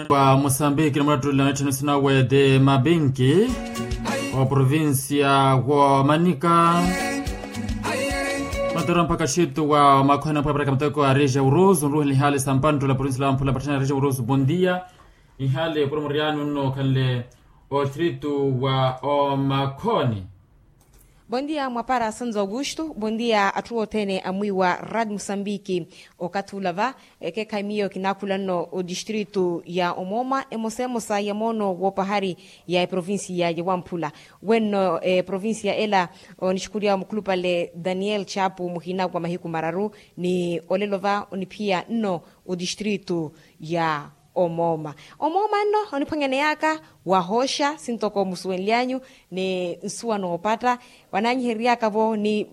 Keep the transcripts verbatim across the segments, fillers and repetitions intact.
Wa mosambiki na mulattulila mittheno sinawe ti mabinki wa provincia wa manika. Matera mpakha xittu wa makhwene mpweparaka muteko a reja urusu nruhela ihali sampanttula provincia la wamphula patthena reja urusu bondia. Ihali puro muriani unno khanle ostritu wa omakhoni. Bondia mwapara sanzo augusto bondia atthu othene amwiiwa rad musambiki. Okathi ula va ekeekhayi miyo kinaakhula nno odistritu ya omooma emosa emosa ya moono woopahari ya eprovincia ya wamphula. Wenno eprovincia ela onixukhuriwa mukhulupale daniel chapu muhina wa mahiku mararu ni olelo va oniphiya nno odistritu ya omooma. Omooma nno oniphwanyaneyaka wahooxa sintoko musuwenlyanyu ni nsuwa noopatta. Wanaanyihereryaka-vo ni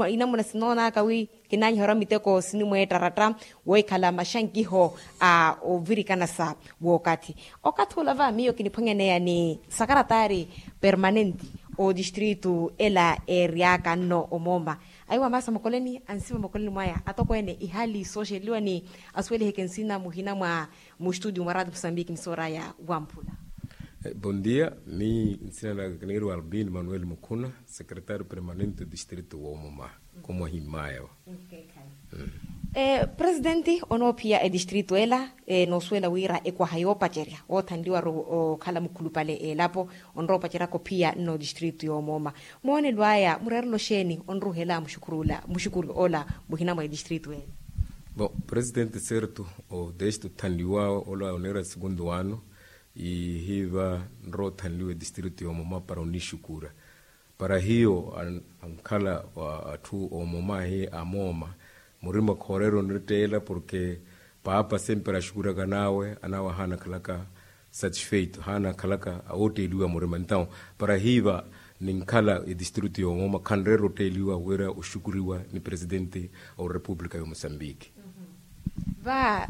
inamuna sinoonaka wi kinaanyiherya miteko sinimweettaratta wohikhala maxankiho a ovirikanasa wookathi. Okathi ula va miyo kiniphwanyaneya ni sakaratari permanente odistritu ela eeryaka nno omooma. Aiwa maasa mokoleni ansiva mokoleni mwaya atokweene ihali sooxeliwa ni asuweliheke nsina muhina mwa mustudio mwa radio musambiki ni sooraya wamphula. Bondia. Miyo nsina naka kiniiriwa albin manuel mukhuna, secretario permanente distritu wa omoma. Komwahimmaya wa presidenti onoophiya edistritu ela noosuwela wira ekwaha yoopacerya woothanliwaru okhala mukhulupale elapo onrowa opaceryaka ophiya nno distritu yoomooma. Moonelo aya mureerelo xeeni onruhela muxukuru ola muhina mwa edistritu ela? Bon, presidenti certo, o desti othanliwawe ola oneera segundu wano ihiva nrowa othanliwa edistritu yoomooma para onixukura. Para hiyo ankhala atthu omooma ahi amooma murima khooreera onitteela porke paapa sempre axukuraka n'awe anaawe ahaana akhalaka satisfeito ahaana akhalaka awootteeliwa murima entaw para hiiva ninkhala edistritu yoomooma khanreera otteeliwa wira oxukuriwa ni presidente a orepupulika ya omosambiki. Va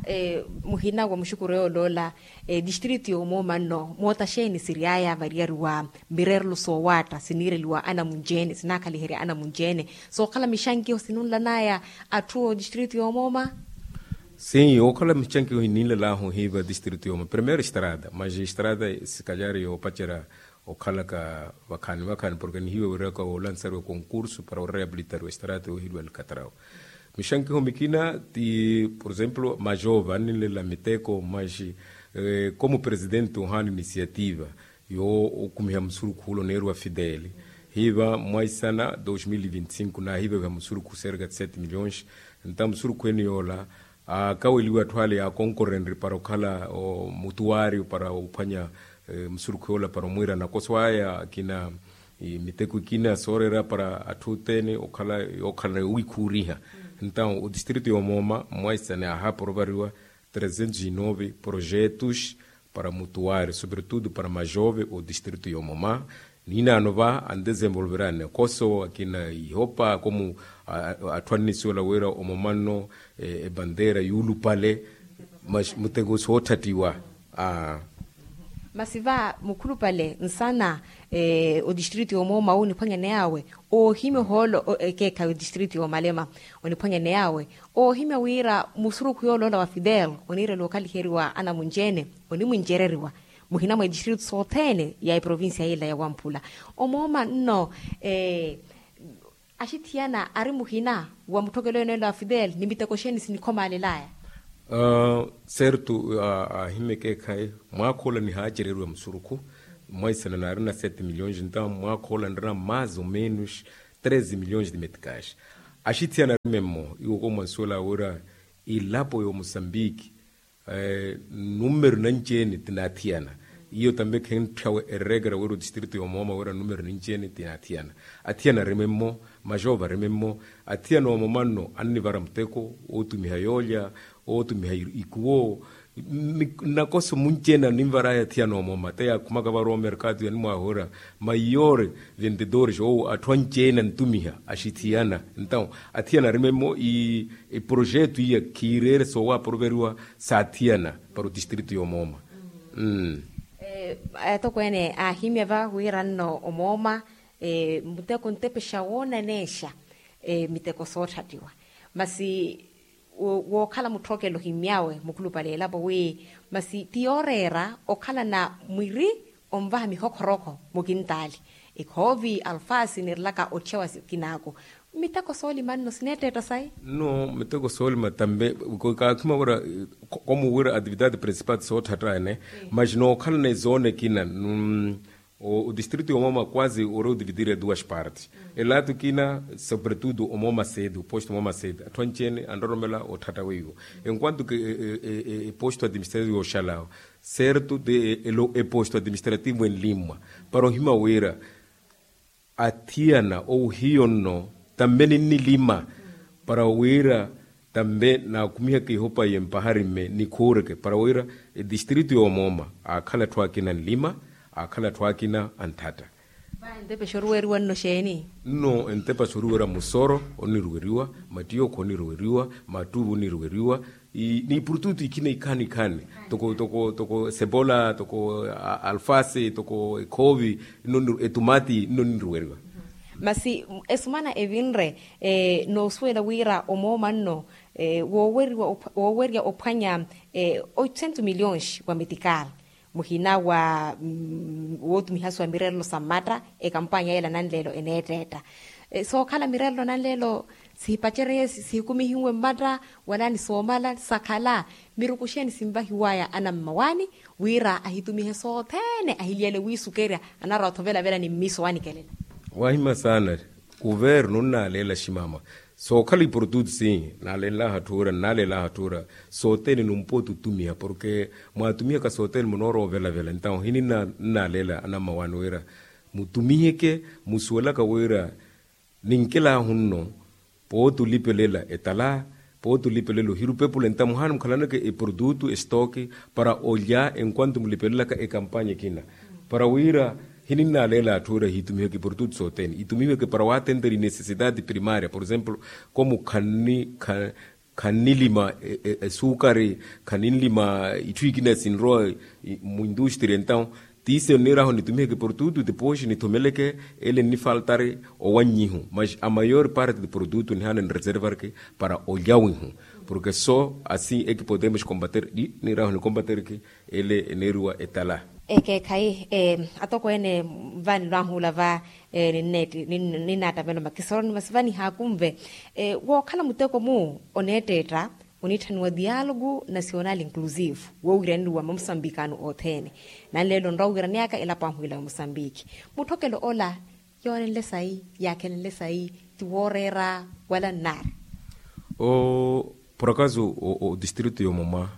muhina wa muxukuru yooloola edistritu yoomooma nno moota xeeni siryaya variyari wa mireerelo soowaatta siniireliwa anamunci-ene sinaakhaliherya anamunci-ene sookhala mixankiho sinunlanaya atthu odistritu yoomooma? Sim okhala mixankiho hininlalahu hiiva distritu yoomooma primeiro estrada mas estrada sikalyari yoopacerya okhalaka vakhaani vakhaani porke nihiiva wiiraka oolansariwa concurso para oreabilitariwa estrada yoohiliwa ni katrawa. Mixankiho mikina ti por exemplo majova anninlela miteko mas como presidente ohaana inisiativa yookumiha musurukhu ula oneeriwa fidele hiiva mwaisana dos mil e vinte cinco naahiiva viha musurukhu serka ti sete milhões. Nta musurukhu ene yoola akaweliwa atthu ale yaakonkorenrye para okhala mutuwari para ophwanya musurukhu yoola para omwiira nakoso aya akina miteko ikina sooreera para atthu othene okhala yookhala yoowikhuuriha. Ntawo odistritu yoomooma mwaisane ahaapora ovariwa trezentos e nove projetos para mutuwari sobretudo para majove odistritu yoomooma. Niinaano va andesenvolverani nakoso akina ihopa komu atthu annisiwela wira omooma nno ebandeera yuulupale mas muteko sootthattiwa. Masi va mukhulupale nsana odistritu yoomooma oniphwanyaney'awe oohimya ohoolo ekeekhayi odistritu yoomalema oniphwanyaney'awe oohimya wira musurukhu yooloola wa fidel oniirela okhaliheriwa anamunci-ene onimwincereriwa muhina mwa edistritu sothene ya eprovincia yila ya wamphula. Omooma nno axithiyana ari muhina wa mutthokelo ene ela wa fidel ni miteko xeeni sinikhomalelaya? Certo ahimya ekeekhayi mwaakha ola nihaacereriwa musurukhu mwaisana naarina sete milhões ntawo mwaakha ola nrina mais ou menos treze milhões de meticais. Axithiyana ari memmo iwo komwansuwela wira ilapo ya omosambiki numero nanci-ene tinaathiyana. Iyo tambe khentthyawe eregra wira odistritu yoomooma wira numero nanci-ene tinaathiyana. Athiyana ari memmo majova ari memmo athiyana oomooma nno annivara muteko ootumiha yoolya ootumiha ikuwo. Nnakoso munci-ene aninvar'aya athiyana oomooma te yaakhumaka varowa omerkatu yanimwaaha wira maiyore vendedores ou atthu anci-ene antumiha axithiyana. Ntawo athiyana ari memmo iprojetu iya khiireere soowaaporoveriwa saathiyana para odistritu yoomooma. Atokweene aahimya va wira nno omooma muteko ntepexa woonaneexa miteko sootthattiwa masi Wookhala mutthokelo ohimmy'awe mukhulupale elapo wi masi ti yooreera okhalana mwiri onvaha mihokhorokho mukintaali, ekhoovi, alfaasi nirilaka otthiyawa sikinaaku. Miteko soolima nno sineetteetta sayi? Nno miteko soolima tambe kaakhima wira komu wira atividade principal sootthatta ene. Masi nookhalana ezoone ekina. Odistritu yomooma kwazi ori otivitiri eduas parti, elato ekina sobretudo omooma sedu posto omooma sedu atthu anci-ene anroromela otthatta weiwo. Enquanto ke eposto administrativo yooxalawa, serto de eposto administrativo enlimmwa para ohima wira athiyana ou hiyo nno tambe ninnilima para wira tambe naakumiheke ihopa iye mpahari mme nikhuureke para wira edistritu yoomooma aakhala atthu akina anlima, aakhala atthu akina antthatta. Vaahi entepa exoruweriwa nno xeeni? Nno entepa exoruwera musoro oniruweriwa, mattiyookho oniruweriwa, mattuuvu oniruweriwa, ni ipurututu ikina ikhaani ikhaani toko toko toko sepola toko alfasi toko ekhoovi, etumati nno niruweriwa. Masi esumana evinre noosuwela wira omooma nno woowerya ophwanya oitusentu miliyonxi wa metikali muhina wa wootumihasiwa mirerelo sa mmatta. Ekampanya ela nanleelo eneetteetta sookhala mirerelo nanleelo sihipacereye sihikumihiwe mmatta wala ni soomala sakhala miruku xeeni sinvahiwaya anammawaani wira ahitumihe sothene ahiliyale wiisukerya anarwa athovelavela ni mmiiso wanikelela. Wahima saana. Kuvernu nnaleela ximama sookhala ipurututu si nnalenlaha atthu ura nnaleelaha atthu ura sothene numpooti otumiha porke mwaatumihaka sothene munoorowa ovelavela entawo hininna nnaleela anammawaani wira mutumiheke musuwelaka wira ninkelahu nno pooti olipelela etala pooti olipelela ohiru pepula entawo muhaana mukhalanaka eprodutu estoki para olya enquanto mulipelelaka ekampanya ekina para wira hininnaleela atthu wira hiitumiheke eprodutu sothene itumiheke para waatentera inesesitati primaria por exemplo komu khanni khannilima esuukari khaninlima itthu ikina sinrowa muindustria entawo tiise onniirahu nitumiheke produtu tipoxi nithomeleke ele nnifaltari owannyihu mas amayor parte de produtu nihaana nreservarke para olyawihu porke so asi ekipotemos combater di niirahu nikombaterke ele eneeriwa etala. Ekeekhayi atokweene va nilwaahuula va ninnaattamelo makisoro ni masi va nihaakunve wookhala muteko mu oneetteetta oniitthaniwa dialogo nasional inclusive woowiraneriwa mamusambikano othene nanleelo onrowa owiraneyaka elapo ahwiila wa musambiki mutthokelo ola yoonenle sayi yaakhenenle sayi ti wooreera wala nnaari. Por akaso odistritu yoomoma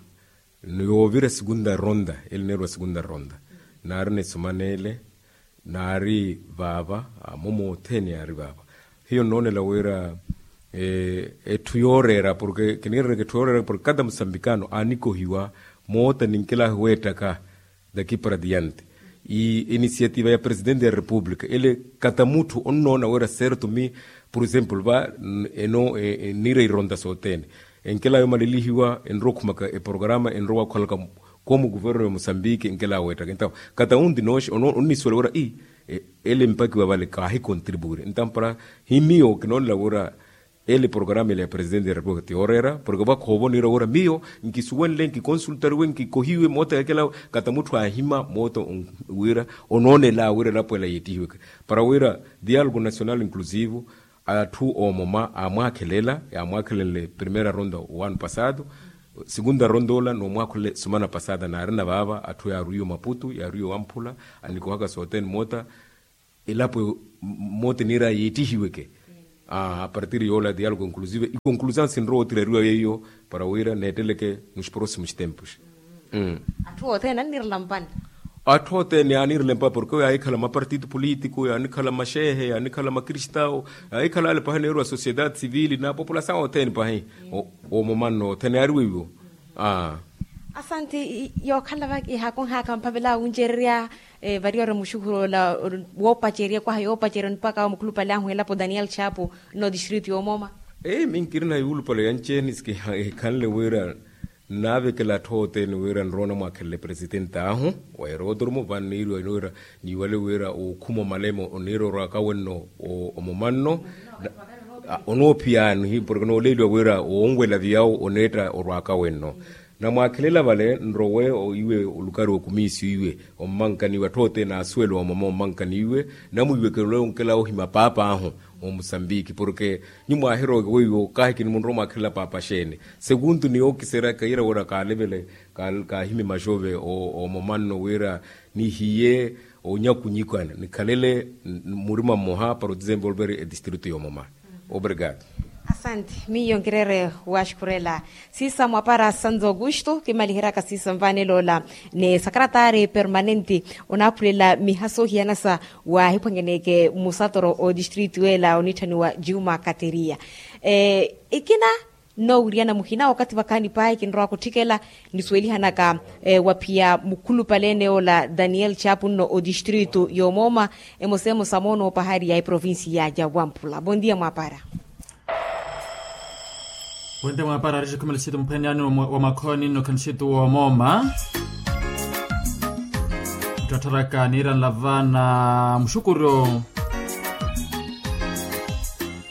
yoovira segunda ronda ele neeriwa segunda ronda naari nisumanele naari vaava amomo othene yaari vaava hiyo nnoonela wira etthu yooreera porke kiniiraneke etthu yooreera porke kata musambikano aanikohiwa moota ninkelahu weettaka daki para diante inisiativa ya presidente ya república ele kata mutthu onnoona wira serto mi por exemplo va eno nniira ironda sothene enkela yomalelihiwa enrowa okhumaka eprograma enrowa waakhuhalaka komu kuverno ya musambiki enkela weettaka entawo kata unti nooxi onnisuwela wira ii ele mpakiwa vale kaahikontribuwire entawo para hi miyo kinoonela wira ele programa ele ya presidente ya república ti yooreera porke vakhoova oniira wira miyo nkisuwenle nkikonsultariwe nkikohiwe moota yaakela kata mutthu aahima moota wira onoonela wira elapo ela yeettihiweke para wira dialogo nasional inclusivo atthu oomoma aamwaakhelela yaamwaakhelenle primera ronda owano pasado segunda ronda ola noomwaakhulela esumana pasada naarina vaava atthu yaarwiiwe omaputu yaarwiiwe owamphula anikohaka sothene moota elapo moota eniira yeettihiweke apartir yoola dialogo inclusive ikonklusion sinrowa otirariwa yeiyo para wira neetteleke nos proximos tempos. Atthu othene anniirela mpanta atthu othene yaaniirela mpanta porke yaahikhala mapartito politico yaanikhala maxeehe yaanikhala makristao yaahikhala ale pahi neeriwa sociedade civile na populasaw othene pahi omomanno othene yaari weiwo. Asanti. Yookhala va ihakonhaka mphavela wuncererya variya ori muxukhuroola woopacerya kwaha yoopacerya onipaka mukhulupale ahu elapo daniel chapo nno distritu yoomooma. Minkirina yuulupale yanci-ene sikihikhanle wira nnaavekela atthu othene wira nrowa onamwaakhelela epresidente ahu wa erotromo va nniiriwa wira niiwale wira ookhuma omalemo oniira orwaka wenno omomanno. Onoophiyani porke nooleeliwa wira woonwela viyawo oneetta orwaaka wenno. Namwaakhelela vale nrowe iwe olukari okumiisiwa iwe, ommankani iwe atthu othene asuwela omoma ommankani iwe. Namwiiwekele onkela ohima paap'ahu, omosambiki porke nyuwo mwaahirowa weiwo kahi kinimunrowa mwaakhelela paapa xeeni? Sekuntu ni yookiseryaka yira wira kaalevele, kaahime maxove omoma nno wira nihiye onyakunyikana nikhalele murima mmoha para otisempe oluperi etistritu yoomoma. Obrigado. Asante. Miyo nkireere waxukhurela siisa mwapara santo augusto kimaliheryaka siisa nvaanelo ola ni sakaratari permanente onaaphulela miha soohiyanasa wahiphwangeneke musatoro otistritu ela onitthaniwa juma kateriya. Ekina nnoowiriyana muhina wakathi vakhaani pahi kinrowa kutthikela nisuwelihanaka waphiya mukhulupale ene ola daniel chapu nno otistritu yoomoma emosemosa moonoopaharya eprovincia ya wamphula bondia mwapara. Wente mwapara arixi khumela xitu muphwene ani wa makhooni nno khanixitu woomoma. Ttattaraka niira nlava na muxukuryo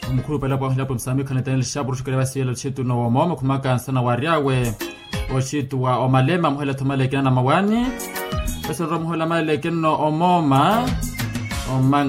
omukhulupale pwahu ilapo msamikho ni daniel xapu ruxukele vasiyela oxitu nno woomoma khumaka nsana waary'awe oxitu wa omalema muhela thomale ekina na mawani. Esororwa muhela malele ekinno omooma. Oma